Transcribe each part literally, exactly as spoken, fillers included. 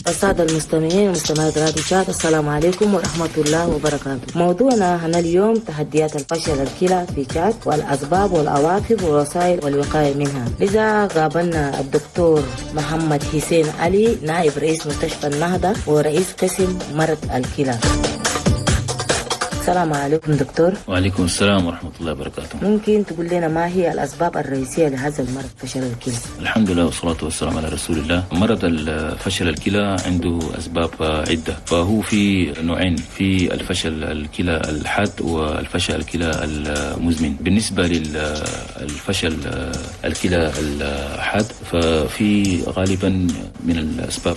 السادة المستمعين ومستمعات راديو تشاد، السلام عليكم ورحمة الله وبركاته. موضوعنا هنا اليوم تحديات الفشل الكلى في تشاد والأسباب والعواقب والوسائل والوقاية منها. لذا قابلنا الدكتور محمد حسين علي، نائب رئيس مستشفى النهضة ورئيس قسم مرض الكلى. السلام عليكم دكتور. وعليكم السلام ورحمة الله وبركاته. ممكن تقول لنا ما هي الأسباب الرئيسية لهذا المرض فشل الكلى؟ الحمد لله والصلاة والسلام على رسول الله. مرض الفشل الكلى عنده أسباب عدة، فهو في نوعين، في الفشل الكلى الحاد والفشل الكلى المزمن. بالنسبة للفشل الكلى الحاد ففي غالبا من الأسباب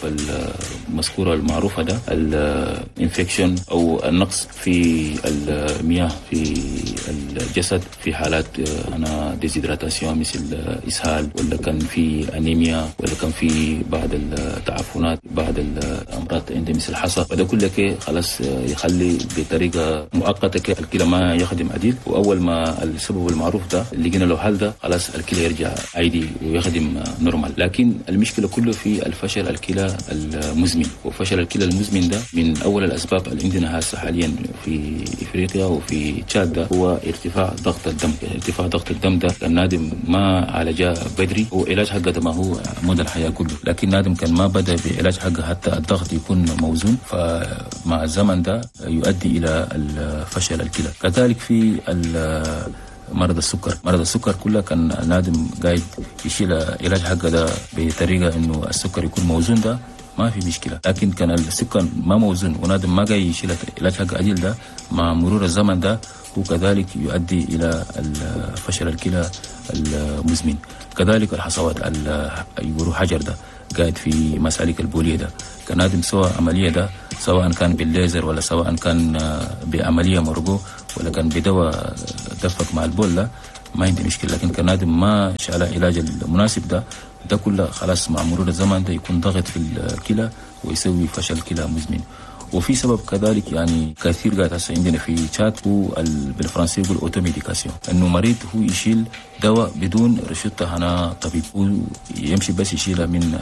المذكورة المعروفة ده ال infection أو النقص في المياه في الجسد في حالات هنا déshydratation مثل إسهال، ولا كان في أنيميا، ولا كان في بعض التعفنات، بعض الأمراض عند مثل حصى، وده كله خلاص يخلي بطريقة مؤقتة الكلى ما يخدم عديل. وأول ما السبب المعروف ده اللي لقينا له حل ده خلاص الكلى يرجع عادي ويخدم normal. لكن المشكلة كله في الفشل الكلى المزمن، وفشل الكلى المزمن ده من أول الأسباب اللي عندنا هسه حاليا في افريقيا وفي تشاد ده هو ارتفاع ضغط الدم. ارتفاع ضغط الدم ده كان نادم ما عالجه بدري، هو علاج حقه ده ما هو مدى الحياة كله، لكن نادم كان ما بدا بعلاج حقه حتى الضغط يكون موزون، فمع الزمن ده يؤدي الى الفشل الكلى. كذلك في مرض السكر، مرض السكر كله كان نادم قاعد يشيل علاج حقه ده بطريقة انه السكر يكون موزون ده ما في مشكلة، لكن كان السكر ما موزون ونادم ما جاي يشيل علاج حق عديل ده مع مرور الزمن ده هو كذلك يؤدي الى فشل الكلى المزمن. كذلك الحصوات يقولوا حجر ده قاعد في مسالك البوليه ده كان نادم سواء عملية ده سواء كان بالليزر ولا سواء كان بعملية مرجو ولا كان بدواء دفق مع البول ده ما عندي مشكلة، لكن كان نادم ما شال علاج المناسب ده ده كله خلاص مع مرور الزمن ده يكون ضغط في الكلى ويسوي فشل كلى مزمن. وفي سبب كذلك يعني كثير قاعد هسه عندنا في تشاد هو بالفرنسي يقول automédication، انه مريض هو يشيل دواء بدون روشته هنا طبيب، هو يمشي بس يشيلها من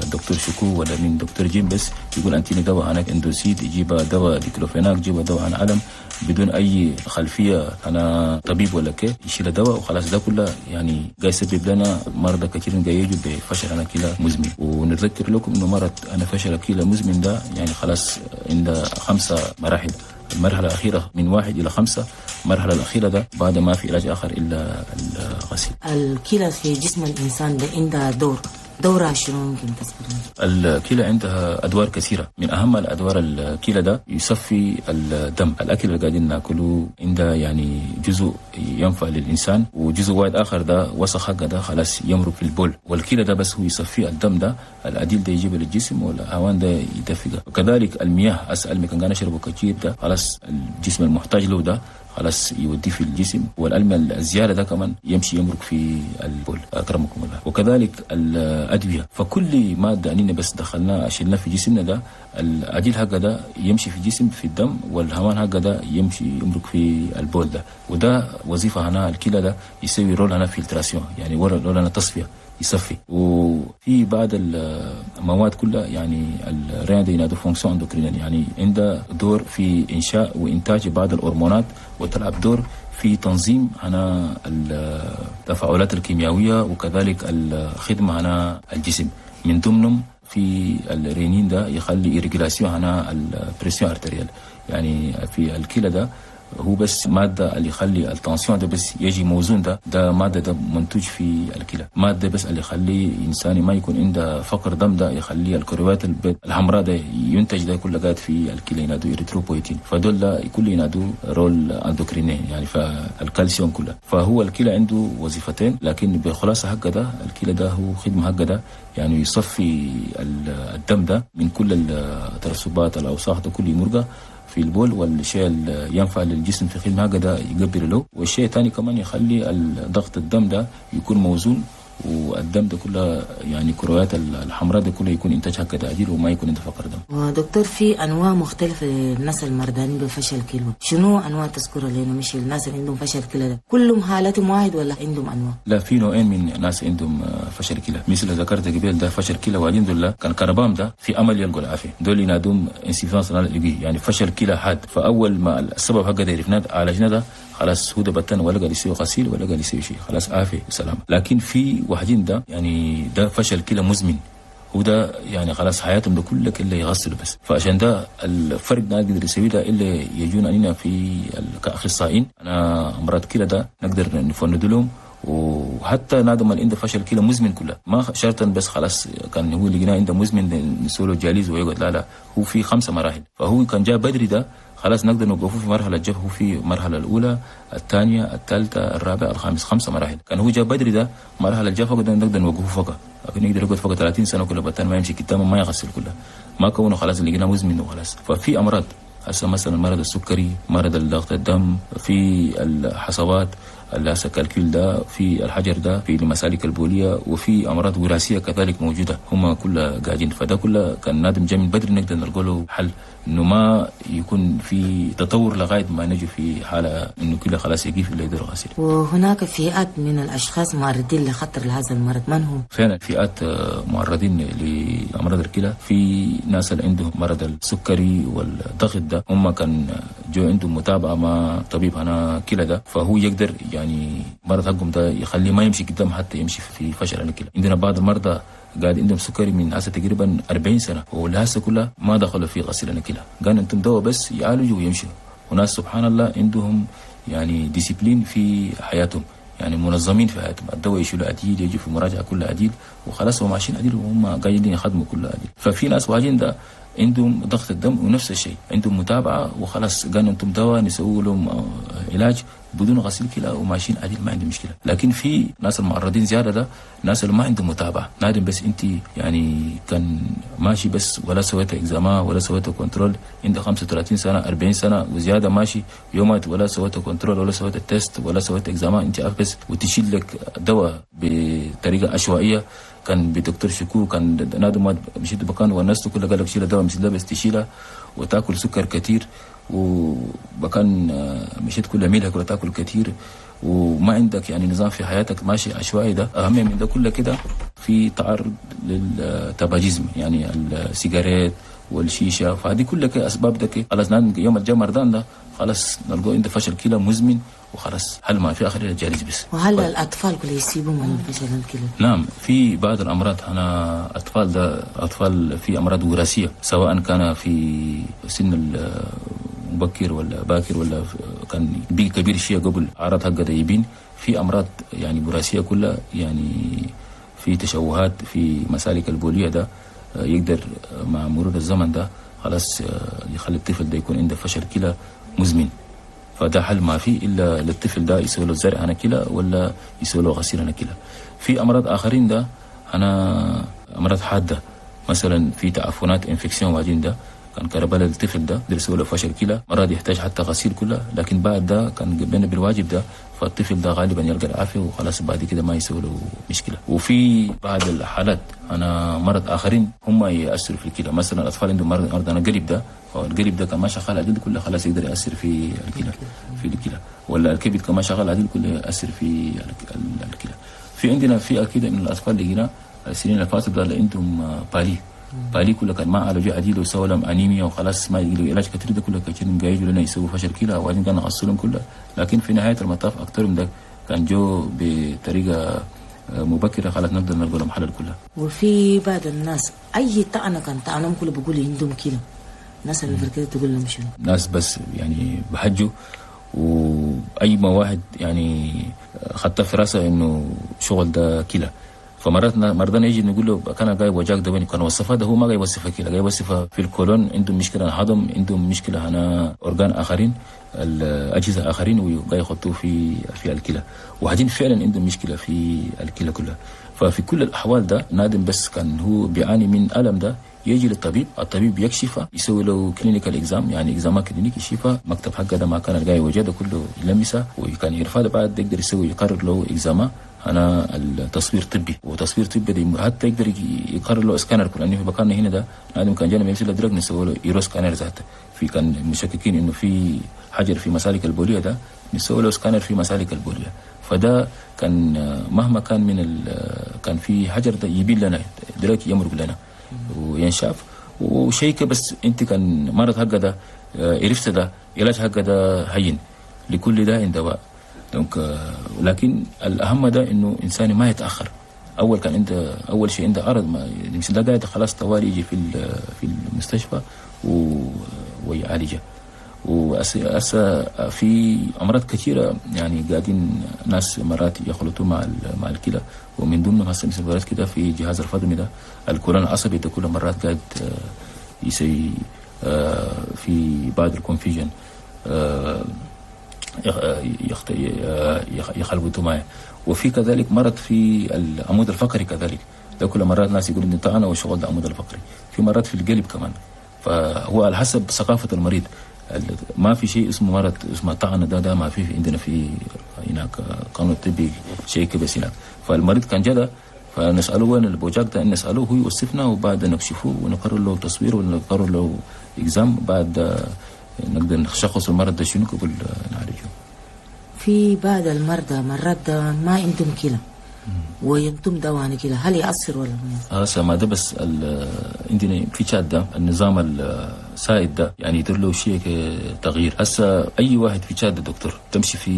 الدكتور شكو ولا من دكتور جيم، بس يقول انتيني دواء هناك اندوسيد، يجيب دواء ديكلوفيناك، يجيب دواء عن علم بدون اي خلفية انا طبيب ولا كي، يشيل دواء وخلاص. ده كله يعني جاي يسبب لنا مرضى كثير جاي يجوا بفشل انا كلى مزمن. ونتذكر لكم انه مرض انا فشل كلى مزمن ده يعني خلاص عند خمسة مراحل، المرحلة الأخيرة من واحد إلى خمسة، المرحلة الأخيرة ده بعد ما في علاج آخر إلا الغسيل. الكلى في جسم الإنسان ده عندها دور، دورها شنو ممكن تذكرنا؟ الكلى عندها أدوار كثيرة، من أهم الأدوار الكلى ده يصفي الدم، الأكل اللي قاعدين ناكله عنده يعني جزء ينفع للإنسان وجزء واحد آخر ده وسخ حقه ده خلاص يمرق في البول، والكلى ده بس هو يصفي الدم ده، الأديل ده يجيبه للجسم والهوان ده يدفقه. وكذلك المياه أسأل مكان كان نشربه كثير ده خلاص الجسم المحتاج له ده خلاص يوديه في الجسم، والألم الزيادة ده كمان يمشي يمرق في البول أكرمكم الله. وكذلك الأدوية، فكل مادة أننا بس دخلناها شلنا في جسمنا ده الأديل حقه ده يمشي في الجسم في الدم، والهوان حقه ده يمشي يمرق في البول ده، وده وظيفة هنا الكلى ده يسوي rôle هنا filtration، يعني rôle هنا تصفية يصفي. وفي بعض المواد كلها يعني ال rein ده ينادوا fonction endocrinienne، يعني عندها دور في انشاء وانتاج بعض الهرمونات، وتلعب دور في تنظيم هنا التفاعلات الكيميائية وكذلك الخدمة هنا الجسم. من ضمنهم في الرينين ده يخلي régulation هنا ال pression artérielle، يعني في الكلى ده هو بس مادة اللي يخلي ال tension ده بس يجي موزون، ده ده مادة ده منتوج في الكلى، مادة بس اللي يخلي إنسان ما يكون عنده فقر دم ده يخلي الكرويات البيض الحمراء ده ينتج ده كله قاعد في الكلى ينادوا إريثروبويتين، فدول ده كل ينادوا rôle endocrinien يعني فالكالسيوم كله. فهو الكلى عنده وظيفتين، لكن بخلاصة حقه ده الكلى ده هو خدمة حقه ده يعني يصفي الدم ده من كل الترسبات الأوساخ ده كل مرقة في البول، والشيء اللي ينفع للجسم في خدمة هكذا يقبل له، والشيء الثاني كمان يخلي ضغط الدم ده يكون موزون والدم ده كله يعني كرويات الحمراء ده كله يكون انتاج هكذا عديل وما يكون عنده فقر دم. ودكتور في انواع مختلفة للناس المرضانين بفشل كلى، شنو انواع تذكرها لنا؟ مش الناس اللي عندهم فشل كلى ده كلهم حالتهم واحد ولا عندهم انواع؟ لا، في نوعين من ناس عندهم فشل كلى، مثل ذكرت قبل ده فشل كلى وبعدين دول كان كربام ده في امل يلقوا العافية، دول ينادوهم insuffisance rénale، يعني فشل كلى حاد. فاول ما السبب حقه ده عرفناه عالجنا ده خلاص هو ده بتن ولا قاعد يسوي غسيل ولا قاعد يسوي شيء، خلاص عافية سلام. لكن في واحدين ده يعني ده فشل كلى مزمن، هو ده يعني خلاص حياتهم ده كله الا يغسلوا بس. فعشان ده الفرق ده نقدر نسوي ده الا يجون علينا في كاخصائيين انا امراض كلى ده نقدر نفند لهم. وحتى نادم اللي عنده فشل كلى مزمن كله ما شرطا بس خلاص كان هو اللي عنده مزمن نسوي له dialyse ويقعد، لا لا، هو في خمسة مراحل. فهو كان جاء بدري ده خلاص نقدر نوقفه في مرحلة جف، هو في المرحلة الاولى الثانية الثالثة الرابعة الخامس، خمسة مراحل. كان هو جاء بدري ده مرحلة الجفا نقدر نوقفه فوق، لكن يقدر يقعد فوق ثلاثين سنة كله بتان ما يمشي قدامه ما يغسل كله، ما كونه خلاص اللي مزمن وخلاص. ففي امراض هسه مثلا مرض السكري، مرض الضغط الدم، في الحصوات اللي هسه calcul ده، في الحجر ده، في المسالك البوليه، وفي امراض وراثية كذلك موجودة، هم كلها قاعدين. فده كله كان نادم جاي من بدري نقدر نلقى له حل، انه ما يكون في تطور لغاية ما نجي في حاله انه كله خلاص يقيف اللي يدير غسيل. وهناك فئات من الاشخاص معرضين لخطر هذا المرض، من هم؟ فعلا فئات معرضين لامراض الكلى، في ناس اللي عندهم مرض السكري والضغط ده، هم كان جو عندهم متابعه مع طبيب هنا كلى ده، فهو يقدر يعني مرض حقهم ده يخليه ما يمشي قدام حتى يمشي في فشل الكلى. عندنا بعض المرضى قاعد عندهم سكري من هسه تقريبا أربعين سنة ولهسه كلها ما دخلوا في غسيل الكلى، قال انتم دواء بس يعالجوا ويمشوا. وناس سبحان الله عندهم يعني discipline في حياتهم، يعني منظمين في حياتهم، الدواء يشيلوا عديل، يجوا في مراجعه كلها عديل وخلاص هم ماشيين عديل وهم قاعدين يخدموا كلها عديل. ففي ناس واجين ده عندهم ضغط الدم ونفس الشيء عندهم متابعه وخلاص قالوا انتم دواء نسوي لهم علاج بدون غسيل كلى وماشيين عديل ما عندهم مشكلة. لكن في ناس المعرضين زيادة ده ناس اللي ما عندهم متابعه، نادم بس انت يعني كان ماشي بس ولا سويت examen ولا سويت contrôle، عندك خمسة وثلاثين سنة أربعين سنة وزيادة ماشي يومات ولا سويت contrôle ولا سويت test ولا سويت examen، انت عارف بس وتشيل لك دواء بطريقة عشوائية. كان بدكتور شكو كان نادم مشيت بكان والناس كلها قال لك شيل دواء مش ده بس تشيلها وتاكل سكر كثير، وبكان مشيت كل ميلها كلها تاكل كثير وما عندك يعني نظام في حياتك ماشي عشوائي. ده اهم من ده كله كده في تعرض لل tabagisme يعني السيجاريت والشيشه، فهذه كلها اسباب ده خلاص يوم الجاي مرضان ده خلاص نلقوا عنده فشل كلى مزمن وخلاص هل ما في اخر ال dialyse بس. وهل ف... الاطفال كل يصيبوا من فشل الكلى؟ نعم، في بعض الامراض انا اطفال ده اطفال في امراض وراثية سواء كان في سن مبكر ولا باكر ولا كان بي كبير شيء قبل اعراض حقه ده يبين. في امراض يعني وراثية كلها يعني في تشوهات في مسالك البوليه ده يقدر مع مرور الزمن ده خلاص يخلي الطفل ده يكون عنده فشل كلى مزمن. فده حل ما فيه الا للطفل ده يسوي له زرع انا كلى ولا يسوي له غسيل انا كلى. في امراض اخرين ده انا امراض حادة مثلا في تعفنات infection واجين ده كان كربلاء الطفل ده درسوا له فشل كلى مرات يحتاج حتى غسيل كله، لكن بعد ده كان قبلنا بالواجب ده فالطفل ده غالبا يلقى العافية وخلاص بعد كده ما يسوي له مشكلة. وفي بعض الحالات انا مرض اخرين هم ياثروا في الكلى، مثلا الاطفال عندهم مرض مرض انا قلب ده، فالقلب ده كان ما شغال عدل كله خلاص يقدر ياثر في الكلى في الكلى، ولا الكبد كما شغال عدل كله ياثر في الكلى. في عندنا فئة كده من الاطفال اللي هنا السنين اللي فاتت ده اللي عندهم palu palu كله كان ما عالجوا عديل وسووا لهم انيميا وخلاص ما يجي علاج كثير ده كله كثير جاي لنا يسووا فشل كلى وبعدين كان نغسلهم كله، لكن في نهاية المطاف اكثرهم ده كان جو بطريقة مبكرة خلاص نقدر نلقى لهم حل كلها. وفي بعض الناس اي طعنه كان طعنهم كله بيقولوا عندهم كلى، الناس اللي كده تقول لهم شنو؟ ناس بس يعني بحجوا واي ما واحد يعني خدتها في راسه انه شغل ده كلى، فمرات مرضانا يجي نقول له كان جاي وجاك ده وين كان وصفها ده هو ما جاي يوصفها كده، جاي يوصفها في الكولون عندهم مشكلة هضم، عندهم مشكلة هنا organes اخرين الاجهزة اخرين وجاي يحطوه في في الكلى، وبعدين فعلا عندهم مشكلة في الكلى كلها. ففي كل الاحوال ده نادم بس كان هو بيعاني من الم ده يجي للطبيب، الطبيب يكشفه، يسوي له clinical exam، يعني examen clinique يشوفه مكتب حقه ده ما كان الجاي وجده كله يلمسه وكان يرفع، بعد يقدر يسوي يقرر له examen انا التصوير طبي، وتصوير طبي دي حتى يقدر يقرر له سكانر، لانه في مكاننا هنا ده نادم كان جانا يمسك درج نسوي له uroscanner ذاته. في كان مشككين انه في حجر في مسالك البوليه ده نسوي له سكانر في مسالك البوليه، فده كان مهما كان من ال كان في حجر ده يبين لنا دلوقتي يمرق لنا وينشاف وشيء. بس انت كان مرض حقه ده عرفت ده علاج حقه ده هين، لكل داء دواء. donc لكن الاهم ده انه انسان ما يتاخر. اول كان عنده اول شيء عنده عرض ما مثل ده قاعد خلاص طوالي يجي في في المستشفى ويعالجه. وأسا في امراض كثيرة يعني قاعدين ناس مرات يخلطوا مع مع الكلى، ومن ضمنهم هسه مثل مرات كده في جهاز الفضمي ده الكولون العصبي ده كل مرات قاعد يسوي في بعض ال confusion يخلطوا معه. وفي كذلك مرض في العمود الفقري كذلك ده كل مرات ناس يقولوا ان طعنه وشغل ده العمود الفقري. في مرات في القلب كمان، فهو على حسب ثقافة المريض. ما في شيء اسمه مرض اسمه طعنه ده ده ما في عندنا في هناك قانون الطبي شيء كبس هناك. فالمريض كان جدا فنساله وين البوجاك ده، نساله هو يوصفنا وبعد نكشفه ونقرر له تصوير ونقرر له اكزام، بعد نقدر نشخص المرض ده شنو قبل نعالجه. في بعض المرضى مرات ما عندهم كلى وينتم دواء كلى، هل يأثر ولا ما يأثر؟ هسه ما ده بس عندنا في تشاد ده النظام السائد ده يعني يدير له شيء تغيير. هسه اي واحد في تشاد دكتور تمشي في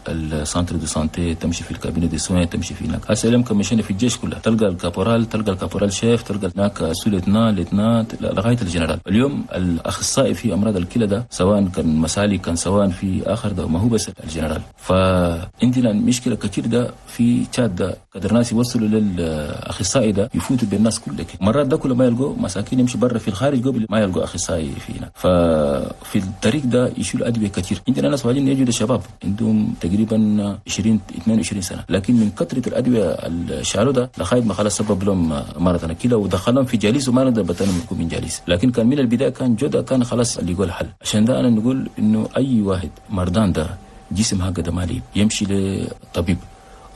ال centre de santé، تمشي في ال cabinet de soins، تمشي في هناك. هسه لما مشينا في الجيش كله تلقى ال caporal، تلقى ال caporal-chef، تلقى هناك sous-lieutenant lieutenant لغاية الجنرال. اليوم الاخصائي في امراض الكلى ده سواء كان مسالك كان سواء في اخر ده ما هو بس الجنرال. فعندنا مشكلة كثير ده في تشاد ده قدر ناس يوصلوا للاخصائي ده يفوتوا بالناس كلها. مرات ده كله ما يلقوا مساكين يمشي برا في الخارج قبل ما يلقوا اخصائي في هناك. ففي الطريق ده يشيلوا ادوية كثير. عندنا ناس واجدين يجوا شباب عندهم تقريبا عشرين اثنين وعشرين سنة، لكن من كثرة الادوية اللي شالوا ده لغاية ما خلاص سبب لهم مرض كده ودخلهم في dialyse وما نقدر بتنهم يكون من dialyse. لكن كان من البداية كان جوده كان خلاص اللي يقول حل. عشان ده انا نقول انه اي واحد مرضان ده جسم هكذا مالي يمشي لطبيب،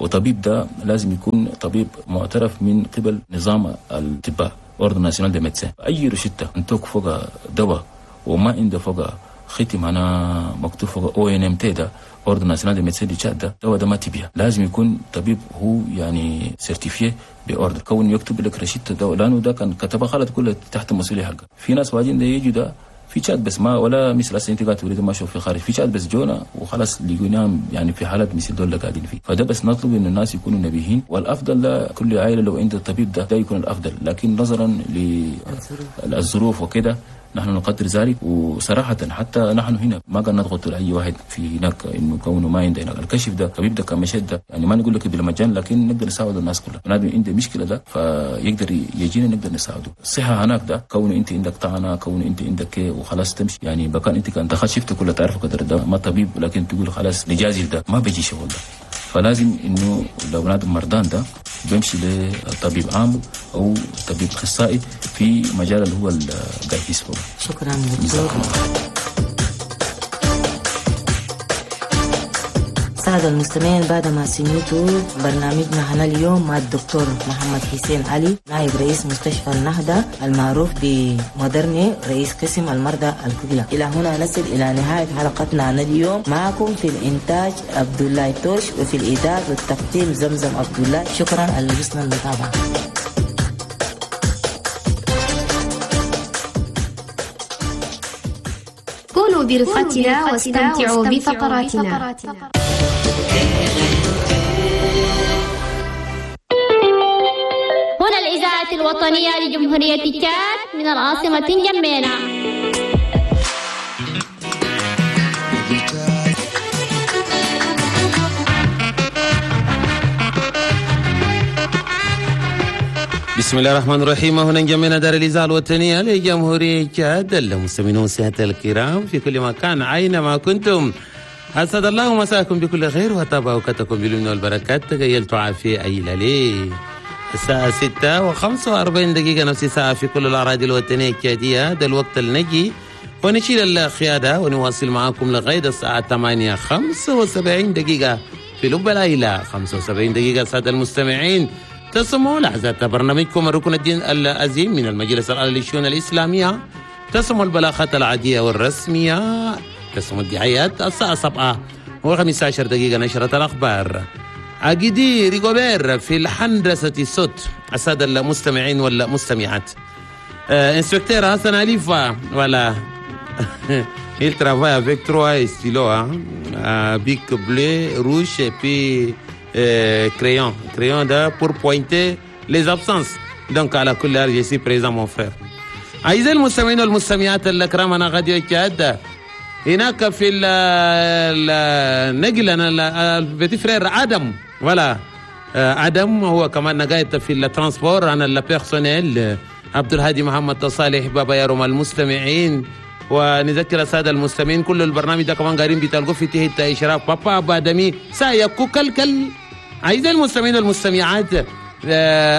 وطبيب ده لازم يكون طبيب معترف من قبل نظام الأطباء Ordre national des médecins. اي روشته انتوك فوق دواء وما عنده فوق ختم انا مكتوب فوق ONMT ده Ordre national des médecins du Tchad ده دواء ده ما تبيع. لازم يكون طبيب هو يعني certifié ب ordre كون يكتب لك روشته دواء، لانه ده كان كتبها خلط كله تحت المسؤولية حقه. في ناس واجين ده يجوا ده في تشاد بس ما ولا مثل هسه انت قاعد تريد ما اشوف في خارج في تشاد بس جونا وخلاص لقيناهم يعني في حالات مثل دول قاعدين فيه. فده بس نطلب ان الناس يكونوا نبيهين، والافضل ده كل عائلة لو عند الطبيب ده ده يكون الافضل، لكن نظرا للظروف وكده نحن نقدر ذلك. وصراحة حتى نحن هنا ما قد نضغط على أي واحد في هناك إنه كونه ما عنده هناك الكشف ده طبيب ده كمشهد ده يعني ما نقول لك بالمجان، لكن نقدر نساعد الناس كلها. بنادم عنده مشكلة ده فيقدر يجينا نقدر نساعده. الصحة هناك ده كونه أنت عندك طعنة، كونه أنت عندك وخلاص تمشي يعني بكان أنت كان دخلت شفت كله تعرف قدر ده ما طبيب، لكن تقول خلاص نجازف ده ما بيجي شغل ده. فلازم إنه لو بنادم مرضان ده بيمشي لطبيب عام أو طبيب أخصائي في مجال اللي هو القايس. شكرا دكتور. سادة المستمعين، بعدما سمعتوا برنامجنا هنا اليوم مع الدكتور محمد حسين علي نائب رئيس مستشفى النهضة المعروف بمودرني رئيس قسم المرضى الكلى، إلى هنا نصل إلى نهاية حلقتنا عن اليوم. معكم في الإنتاج عبد الله توش، وفي الإعداد والتقديم زمزم عبد الله. شكرا على حسن المتابعة. كونوا برفقتنا واستمتعوا بفقراتنا. هنا الإذاعة الوطنية لجمهورية تشاد من العاصمة جمينة. بسم الله الرحمن الرحيم. هنا جمينا دار الإذاعة الوطنية لجمهورية تشاد. المستمعون والسادة الكرام في كل مكان أينما كنتم، أسعد الله مساكم بكل خير وطاب أوقاتكم باليمن والبركات. تغيلت عافية أي لالي. الساعة ستة وخمسة وأربعين دقيقة، نفس ساعة في كل الأراضي الوطنية التشادية. ده الوقت اللي نجي ونشيل القيادة ونواصل معاكم لغاية الساعة ثمانية خمسة وسبعين دقيقة في لب العيلة. خمسة وسبعين دقيقة سادة المستمعين، تسمعوا لحظات برنامجكم الركن الدين العظيم من المجلس الأعلى للشؤون الإسلامية، تسمعوا البلاغات العادية والرسمية، تسمعوا الدعايات. الساعة سبعة وخمسة عشر دقيقة نشرة الأخبار. أجدي ريغوبير في الهندسة الصوت. السادة المستمعين والمستمعات، آه inspecteur حسن أليفا، voilà il travaille avec trois stylos, hein, euh, bic bleu, rouge et puis euh, crayon. Crayon ده pour pointer les absences. Donc على كل حال je suis présent mon frère. أعزائي المستمعين والمستمعات الكرام، هنا راديو تشاد هناك في النقل انا ال petit frère ادم، voilà ادم هو كمان قاعد في ال transport. انا ال personnel عبد الهادي محمد صالح بابا يارم المستمعين. ونذكر السادة المستمعين كل البرنامج ده كمان قاعدين بتلقوا في تحت اشراف بابا بادمي سايكو كل. اعزائي المستمعين والمستمعات،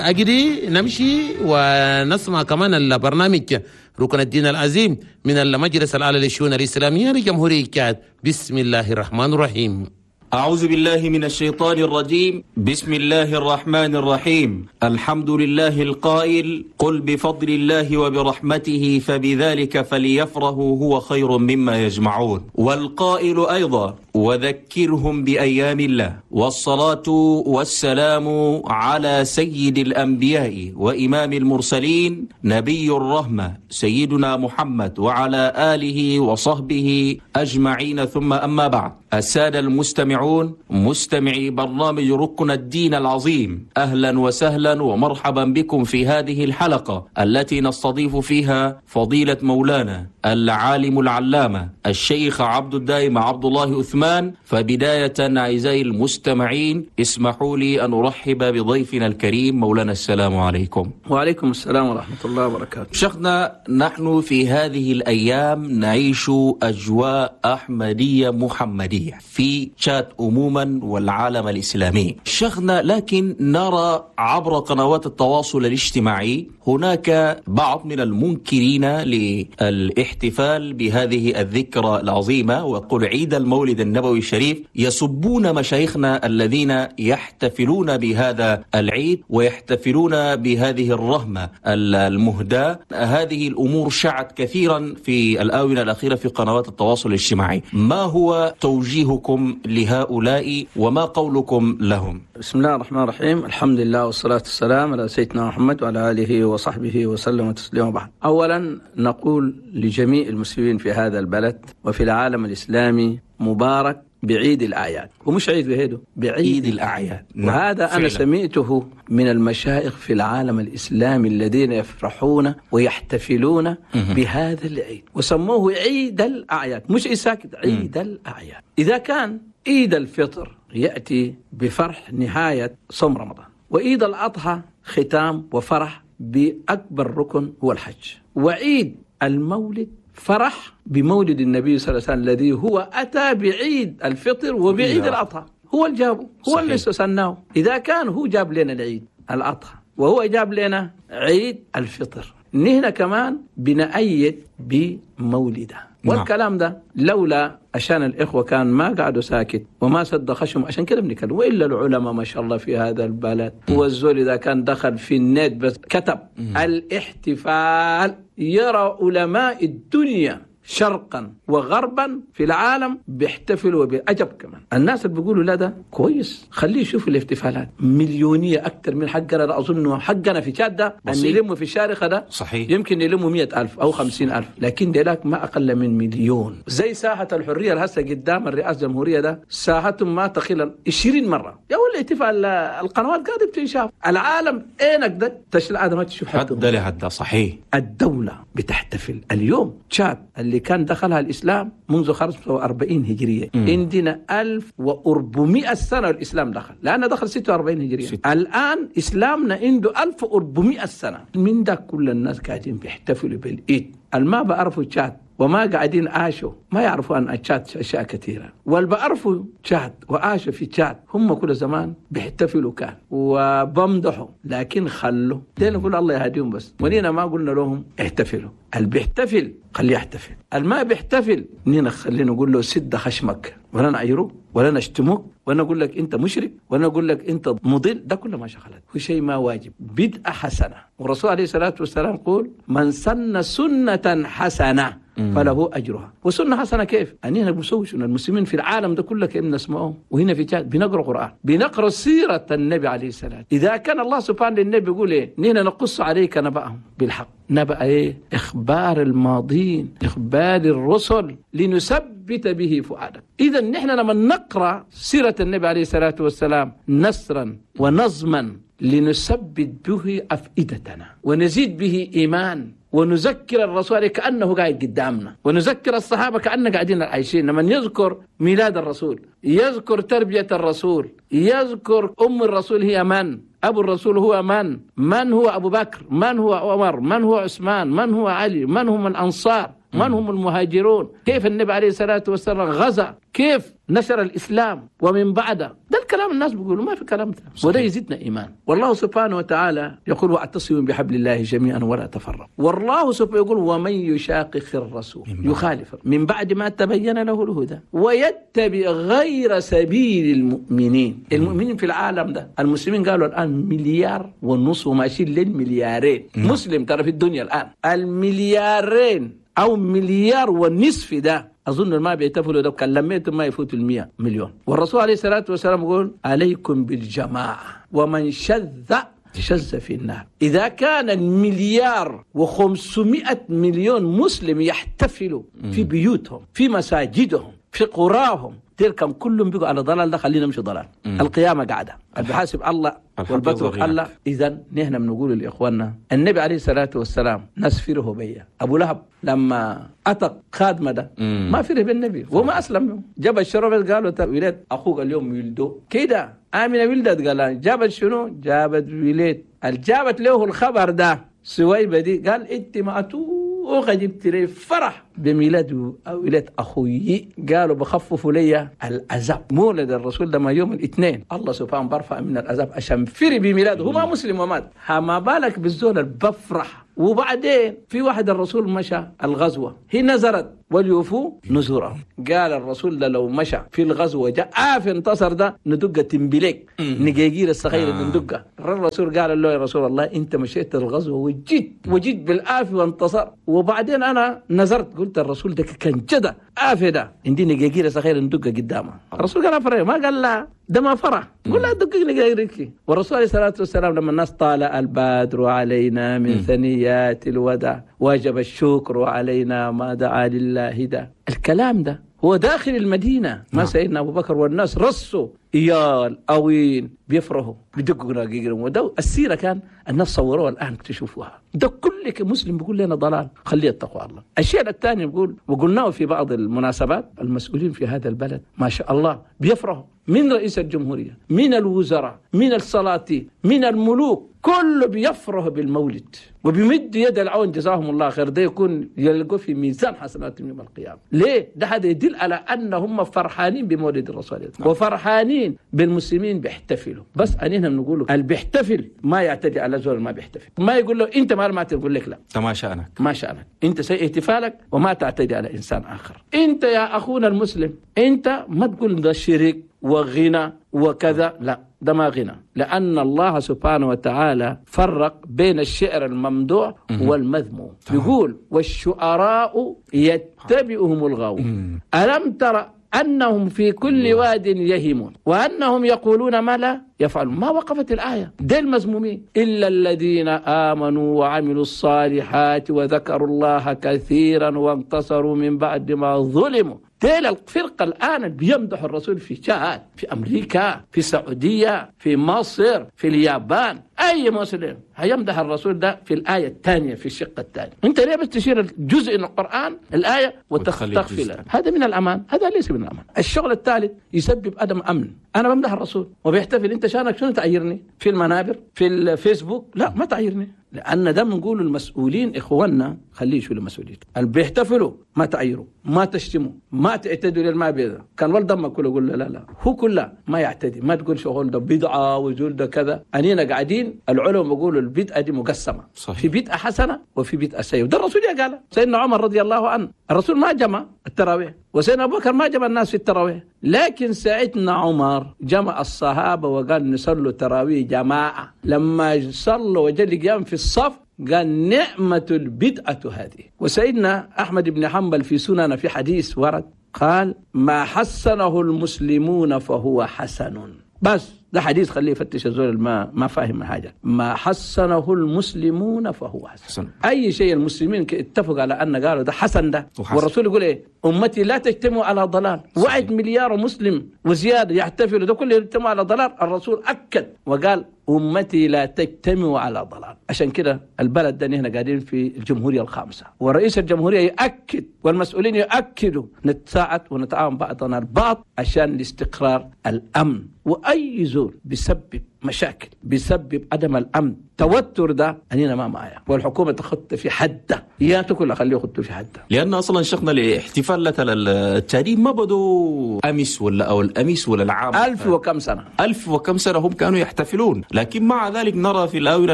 أجري نمشي ونسمع كمان البرنامج ركن الدين العظيم من المجلس الأعلى للشؤون الإسلامية لجمهورية تشاد. بسم الله الرحمن الرحيم. أعوذ بالله من الشيطان الرجيم. بسم الله الرحمن الرحيم. الحمد لله القائل: قل بفضل الله وبرحمته فبذلك فليفرحوا هو خير مما يجمعون. والقائل أيضا: وذكرهم بأيام الله. والصلاة والسلام على سيد الأنبياء وإمام المرسلين نبي الرحمة سيدنا محمد وعلى آله وصحبه أجمعين، ثم أما بعد. السادة المستمعون، مستمعي برنامج ركن الدين العظيم، أهلا وسهلا ومرحبا بكم في هذه الحلقة التي نستضيف فيها فضيلة مولانا العالم العلامة الشيخ عبد الدائم عبد الله عثمان. فبداية أعزائي المستمعين، اسمحوا لي أن أرحب بضيفنا الكريم مولانا. السلام عليكم. وعليكم السلام ورحمة الله وبركاته. شيخنا، نحن في هذه الأيام نعيش أجواء أحمدية محمدية في تشاد عموما والعالم الإسلامي شيخنا، لكن نرى عبر قنوات التواصل الاجتماعي هناك بعض من المنكرين للاحتفال بهذه الذكرى العظيمة وقل عيد المولد النبوي الشريف، يسبون مشايخنا الذين يحتفلون بهذا العيد ويحتفلون بهذه الرحمة المهداة. هذه الأمور شعت كثيرا في الآونة الأخيرة في قنوات التواصل الاجتماعي. ما هو توجيهكم لهؤلاء وما قولكم لهم؟ بسم الله الرحمن الرحيم. الحمد لله والصلاة والسلام على سيدنا محمد وعلى آله وصحبه وسلم تسليما بعد. أولا نقول لجميع المسلمين في هذا البلد وفي العالم الإسلامي مبارك بعيد الأعياد، ومش عيد بهيدو، بعيد الأعياد. وهذا أنا سمعته من المشايخ في العالم الإسلامي الذين يفرحون ويحتفلون بهذا العيد وسموه عيد الأعياد، مش إساكت، عيد الأعياد. إذا كان عيد الفطر يأتي بفرح نهاية صوم رمضان، وعيد الأضحى ختام وفرح بأكبر ركن هو الحج، وعيد المولد فرح بمولد النبي صلى الله عليه وسلم الذي هو أتى بعيد الفطر وبعيد الأضحى، هو اللي جابه، هو اللي سناه. إذا كان هو جاب لنا العيد الأضحى وهو جاب لنا عيد الفطر، نحن كمان بنأيد بمولده. والكلام ده لولا عشان الإخوة كان ما قعدوا ساكت وما سد خشم، عشان كده بنتكلم. وإلا العلماء ما شاء الله في هذا البلد، هو الزول إذا كان دخل في النت بس كتب الاحتفال، يرى علماء الدنيا شرقا وغربا في العالم بيحتفلوا وبيعجب كمان. الناس اللي بيقولوا لا ده كويس، خليه يشوف الاحتفالات مليونية أكثر من حقنا. ده أظن حقنا في تشاد ده أن يلموا في الشارقة ده صحيح يمكن يلموا مئة ألف أو خمسين ألف، لكن ديلاك ما أقل من مليون. زي ساحة الحرية الهسة قدام الرئاسة الجمهورية ده ساحتهم ما تقل عشرين مرة. يا ولا احتفال القنوات قاعدة بتنشاف العالم عينك ده تشل هذا ما تشوف حد لحد. صحيح الدولة بتحتفل اليوم. تشاد اللي كان دخلها الإسلام منذ خمسة وأربعين هجرية، عندنا ألف وأربعمائة سنة الإسلام دخل، لأنه دخل ستة وأربعين هجرية. ست. الآن إسلامنا عنده ألف وأربعمائة سنة. من ده كل الناس قاعدين بيحتفلوا بالعيد. الما بعرفوا تشاد وما قاعدين عاشوا ما يعرفوا عن تشاد أشياء كثيرة، والبعرفوا تشاد وعاشوا في تشاد هم كل زمان بيحتفلوا كان وبمدحوا، لكن خلوا دين نقول الله يهديهم بس، ونينا ما قلنا لهم احتفلوا. اللي بيحتفل خليه يحتفل، اللي ما بيحتفل نينا خلينا نقول له سد خشمك، ولا نعيروك ولا نشتموك ولا نقول لك انت مشرك ولا نقول لك انت مضل، ده كله ما شغلت، هو شيء ما واجب، بدعة حسنة. والرسول عليه الصلاة والسلام يقول من سن سنة حسنة فله أجرها. وسنة حسنة كيف؟ أننا بنسوي شنو؟ المسلمين في العالم ده كله كأننا نسمعهم، وهنا في تشاد بنقرأ قرآن، بنقرأ سيرة النبي عليه السلام. إذا كان الله سبحانه للنبي يقول إيه؟ نحن نقص عليك نبأهم بالحق، نبأ إيه؟ إخبار الماضين، إخبار الرسل، لنثبت به فؤادك. إذا نحن لما نقرأ سيرة النبي عليه الصلاة والسلام نثرا ونظما لنثبت به أفئدتنا ونزيد به إيمان، ونذكر الرسول كأنه قاعد قدامنا، ونذكر الصحابة كأنه قاعدين عايشين. لما يذكر ميلاد الرسول، يذكر تربية الرسول، يذكر أم الرسول هي من، أبو الرسول هو من، من هو أبو بكر، من هو عمر، من هو عثمان، من هو علي، من هم الأنصار، من هم المهاجرون، كيف النبي عليه الصلاة والسلام غزا، كيف نشر الإسلام ومن بعده. ده الكلام الناس بيقولوا، ما في كلام ده، وده يزيدنا إيمان. والله سبحانه وتعالى يقول واعتصموا بحبل الله جميعا ولا تفرقوا. والله سبحانه يقول ومن يشاقق الرسول يخالف من بعد ما تبين له الهدى ويتبع غير سبيل المؤمنين. المؤمنين في العالم ده المسلمين قالوا الآن مليار ونص وماشيين للمليارين مسلم ترى في الدنيا الآن، المليارين أو مليار ونصف ده أظن ما بيتفلوا ده كان لميتم ما يفوتوا المية مليون. والرسول عليه الصلاة والسلام يقول عليكم بالجماعة ومن شذ شذ في النار. إذا كان المليار وخمسمائة مليون مسلم يحتفلوا في بيوتهم، في مساجدهم، في قراهم، تلكم كلهم بيقوا على ضلال، ده خلينا نمشي ضلال. مم. القيامة قاعدة بحاسب الله والبترك الله. إذا نحن بنقول لإخواننا النبي عليه الصلاة والسلام ناس فره بيا. أبو لهب لما أتق خادمة ده ما فره بالنبي وما أسلم، جاب الشرب قالوا ولاد أخوك اليوم يلدو كده، آمنة ولدت قال جابت شنو؟ جابت ولاد. جابت له الخبر ده سويبة دي، قال أنت ما أتوقع جبت لي فرح بميلاد ولاد أخوي، قالوا بخففوا لي العذاب. مولد الرسول ده ما يوم الاثنين الله سبحانه برفع من العذاب عشان فري بميلاده، هو ما مسلم ومات، ما بالك بالزول بفرح. وبعدين في واحد الرسول مشى الغزوة، هي نزرت وليوفوا نزورهم، قال الرسول ده لو مشى في الغزوة جاء آف انتصر ده ندقة تنبليك نجيجير الصغير آه. ندقة. الرسول قال له يا رسول الله انت مشيت الغزوة وجيت وجيت بالآف وانتصر، وبعدين انا نزرت قلت الرسول ده كان جدا آف ده عندي نجيجير الصغير ندقة قدامه. الرسول قال فرح، ما قال لا ده ما فرح، قل لا دقق نجيجيرك. والرسول عليه الصلاة والسلام لما الناس طالع البدر علينا من ثنيات الوداع واجب الشكر علينا ما دعا لله ده، الكلام ده هو داخل المدينة ما سيدنا أبو بكر والناس رصوا إيال أوين بيفرحوا بدقوا نجيجرهم. وده السيرة كان الناس صوروها الآن تشوفوها. ده كل مسلم بيقول لنا ضلال، خليه التقوى الله. الشيء الثاني بيقول وقلناه في بعض المناسبات، المسؤولين في هذا البلد ما شاء الله بيفرحوا، من رئيس الجمهورية، من الوزراء، من السلاطين، من الملوك، كله بيفرح بالمولد وبيمد يد العون جزاهم الله خير. ده يكون يلقوا في ميزان حسناتهم يوم القيامة. ليه؟ ده هذا يدل على أن هم فرحانين بمولد الرسول وفرحانين بالمسلمين بيحتفلوا. بس أننا بنقول اللي بيحتفل ما يعتدي على زول ما بيحتفل، ما يقول له أنت ما ما تقول لك لا ما شأنك، ما شأنك أنت سيء احتفالك وما تعتدي على إنسان آخر. أنت يا أخونا المسلم أنت ما تقول ده شرك وغنى وكذا، لا ده ما غنى، لأن الله سبحانه وتعالى فرق بين الشعر الممدوح والمذموم. يقول والشعراء يتبعهم الغاوون ألم تر أنهم في كل واد يهيمون وأنهم يقولون ما لا يفعلون. ما وقفت الآية دي المذمومين إلا الذين آمنوا وعملوا الصالحات وذكروا الله كثيرا وانتصروا من بعد ما ظلموا. تيل الفرقة الآن بيمدح الرسول في تشاد، في أمريكا، في السعودية، في مصر، في اليابان، أي مسلم هيمدح الرسول ده في الآية الثانية في الشق الثاني. أنت ليه بس تشير الجزء من القرآن الآية وتغفلها؟ هذا من الأمان، هذا ليس من الأمان. الشغل الثالث يسبب عدم أمن. أنا بمدح الرسول وبيحتفل، أنت شانك شنو تعيرني في المنابر في الفيسبوك؟ لا ما تعيرني. لأن ده بنقول المسؤولين إخواننا خليه يشيلوا مسؤوليته. اللي بيحتفلوا ما تعيروا، ما تشتموا، ما تعتدوا للما بيضة. كان ولد ما كله يقول له لا لا، هو كله ما يعتدي، ما تقول شغل ده بدعة وزول ده كذا. أنينا قاعدين العلماء بيقولوا البدعة دي مقسمة. صحيح. في بدعة حسنة وفي بدعة سيئة. ده الرسول قال سيدنا عمر رضي الله عنه، الرسول ما جمع التراويح، وسيدنا أبو بكر ما جمع الناس في التراويح، لكن سيدنا عمر جمع الصحابة وقال نصلوا تراويح جماعة. لما صلوا وجل قيام في الصف قال نعمة البدعة هذه. وسيدنا أحمد بن حنبل في سنن في حديث ورد قال ما حسنه المسلمون فهو حسن. بس ده حديث خليه يفتش الزول ما ما فاهم حاجة. ما حسنه المسلمون فهو حسن. حسن. أي شيء المسلمين اتفقوا على أن قالوا ده حسن ده. وحسن. والرسول يقول إيه؟ أمتي لا تجتمع على ضلال. واحد مليار مسلم وزيادة يحتفلوا ده كله يجتمع على ضلال. الرسول أكد وقال أمتي لا تجتمع على ضلال. عشان كده البلد ده نحن قاعدين في الجمهورية الخامسة، ورئيس الجمهورية يأكد والمسؤولين يأكدوا نتساعد ونتعاون بعضنا البعض عشان الاستقرار الأمن. وأي زول بيسبب مشاكل، بيسبب عدم الأمن، توتر ده أنينا ما معايا، والحكومة تخط في حده، يا تكل خليه يخطوا في حده. لأن أصلا شيخنا الاحتفال التاريخ ما بدو أمس ولا أو الأمس ولا العام، ألف وكم سنة، ألف وكم سنة هم كانوا يحتفلون. لكن مع ذلك نرى في الآونة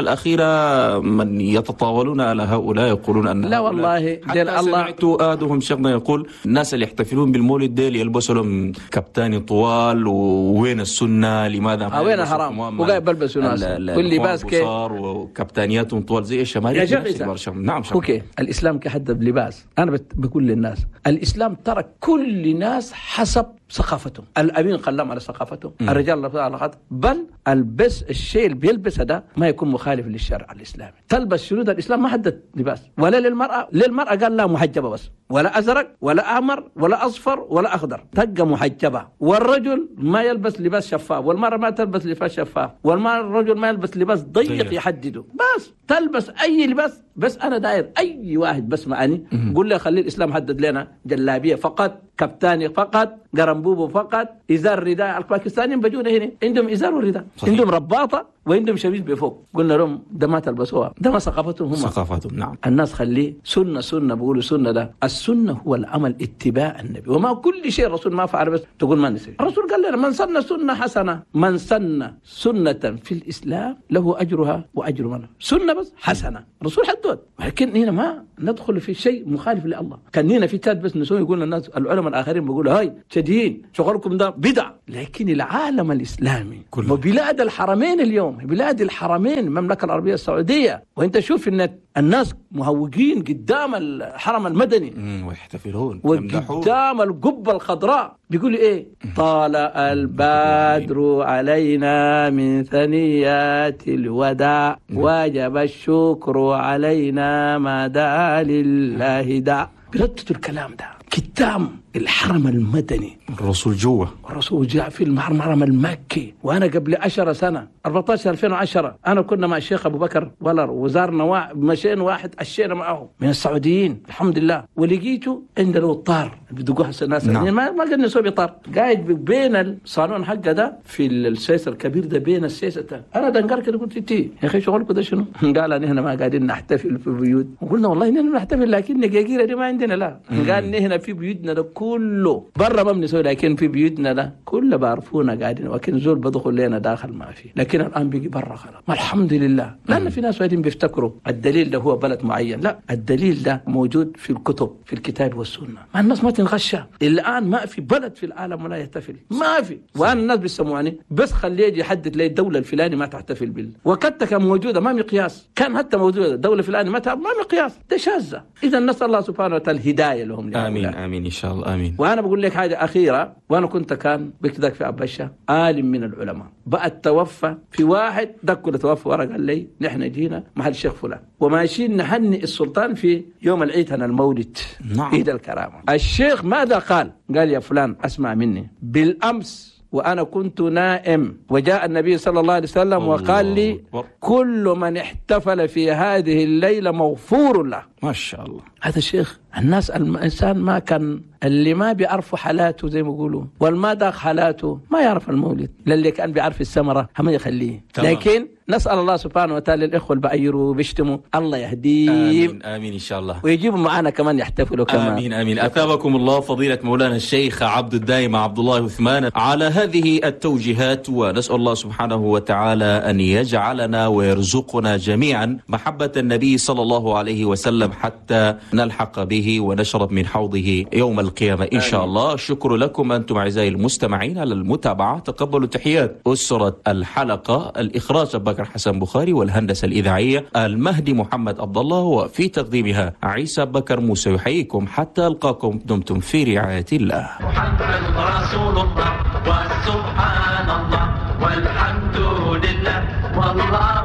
الأخيرة من يتطاولون على هؤلاء يقولون أن لا والله حتى الله. سمعت آدهم شيخنا يقول الناس اللي يحتفلون بالمولد ديل يلبسوا لهم كابتاني طوال، وين السنة؟ لماذا وين حرام وقاعد بلبسوا ناس كل لباس كي وكابتانياتهم طوال زي الشمالي. نعم شمالي. okay الإسلام كحدد لباس. أنا بقول للناس الإسلام ترك كل ناس حسب ثقافتهم، الأمين خلاهم على ثقافتهم، الرجال على خط، بل البس الشيء اللي بيلبسه ده ما يكون مخالف للشرع الإسلامي. تلبس شنو ده الإسلام ما حدد لباس ولا للمرأة، للمرأة قال لا محجبة بس، ولا أزرق ولا أحمر ولا أصفر ولا أخضر، تبقى محجبة. والرجل ما يلبس لباس شفاف، والمرأة ما تلبس لباس شفاف، والرجل ما يلبس لباس ضيق يحدده، بس تلبس أي لباس. بس أنا داير أي واحد بس معني قول له خلي الإسلام حدد لنا جلابية فقط، كابتاني فقط، قرنبوبو فقط، إزار رداء. الباكستانيين بجونا هنا عندهم إزار ورداء، عندهم رباطة وعندهم شميز بفوق. قلنا لهم ده ما تلبسوها، ده ما ثقافتهم هم، ثقافتهم. نعم. الناس خليه سنة سنة، بيقولوا سنة ده السنة هو العمل اتباع النبي، وما كل شيء الرسول ما فعل بس تقول ما نسي. الرسول قال لنا من سن سنة حسنة، من سن سنة في الإسلام له أجرها وأجر من سنة بس حسنة، الرسول حدود. ولكن هنا ما ندخل في شيء مخالف لله. كان هنا في تاد بس نسوي يقول الناس العلماء الآخرين بيقولوا هاي تدين شغلكم ده بدع، لكن العالم الإسلامي كله وبلاد الحرمين اليوم، بلاد الحرمين المملكة العربية السعودية، وانت شوف ان الناس مهوجين قدام الحرم المدني ويحتفلون وقدام القبة الخضراء، بيقولوا ايه؟ طال البدر علينا من ثنيات الوداع، واجب الشكر علينا ما دعا لله داع. بردتوا الكلام ده قدام الحرم المدني، الرسول جوا، الرسول جاء في الحرم المكي. وانا قبل عشر سنة أربعة عشر ألفين وعشرة انا كنا مع الشيخ ابو بكر ولر وزارنا وا... مشينا واحد عشينا معه من السعوديين الحمد لله، ولقيته عند الطار بدقوها الناس. نعم. ما ما قلنا نسوي طار، قاعد بين الصالون حقه ده في السيس الكبير ده، بين السيس ده انا دنقر كده قلت تي يا اخي شغلكم ده شنو؟ قال نحن ما قاعدين نحتفل في بيوت. وقلنا والله نحن نحتفل لكن نجاجيره دي ما عندنا. لا قال نحن في بيوتنا ده كله برا ما بنسوي، لكن في بيوتنا ده كله بعرفونا قاعدين، ولكن زول بدخل لنا داخل ما في، لكن الان بيجي برا خلاص. الحمد لله. لان في ناس وايدين بيفتكروا الدليل ده هو بلد معين، لا الدليل ده موجود في الكتب في الكتاب والسنه. ما الناس ما تنغشى الان، ما في بلد في العالم ولا يحتفل، ما في. وانا الناس بيسموعني بس خليه يجي يحدد لي الدوله الفلانيه ما تحتفل بال، وقتها كان موجوده ما مقياس، كان حتى موجوده الدوله الفلانيه ما ما مقياس، ده شاذه. اذا نسال الله سبحانه وتعالى الهدايه لهم. امين امين ان شاء الله امين. وانا بقول لك حاجه اخيره، وانا كنت كان بكتك في أبشة عالم من العلماء بقى توفى، في واحد دك توفى ورا قال لي نحن جينا محل الشيخ فلان وماشيين نهنئ السلطان في يوم العيد هنا المولد. نعم. عيد الكرامه. الشيخ ماذا قال؟ قال يا فلان اسمع مني، بالامس وأنا كنت نائم وجاء النبي صلى الله عليه وسلم وقال لي كل من احتفل في هذه الليلة مغفور له. ما شاء الله. هذا الشيخ الناس الإنسان ما كان اللي ما بيعرفوا حالاته زي ما يقولوا، والما داق حالاته ما يعرف المولد، للي كان بيعرف السمرة هم يخليه. تمام. لكن نسأل الله سبحانه وتعالى الإخوة اللي بيعيروا وبيشتموا الله يهديهم. آمين آمين إن شاء الله، ويجيبوا معنا كمان يحتفلوا كمان. آمين آمين. أثابكم الله فضيلة مولانا الشيخ عبد الدائم عبد الله عثمان على هذه التوجيهات، ونسأل الله سبحانه وتعالى أن يجعلنا ويرزقنا جميعا محبة النبي صلى الله عليه وسلم حتى نلحق به ونشرب من حوضه يوم القيامة إن شاء الله. شكر لكم أنتم أعزائي المستمعين على المتابعة. تقبلوا تحيات أسرة الحلقة، الإخراج بكر حسن بخاري، والهندسة الإذاعية المهدي محمد عبد الله، وفي تقديمها عيسى بكر موسى. يحييكم حتى ألقاكم، دمتم في رعاية الله. محمد رسول الله وسبحان الله والحمد لله والله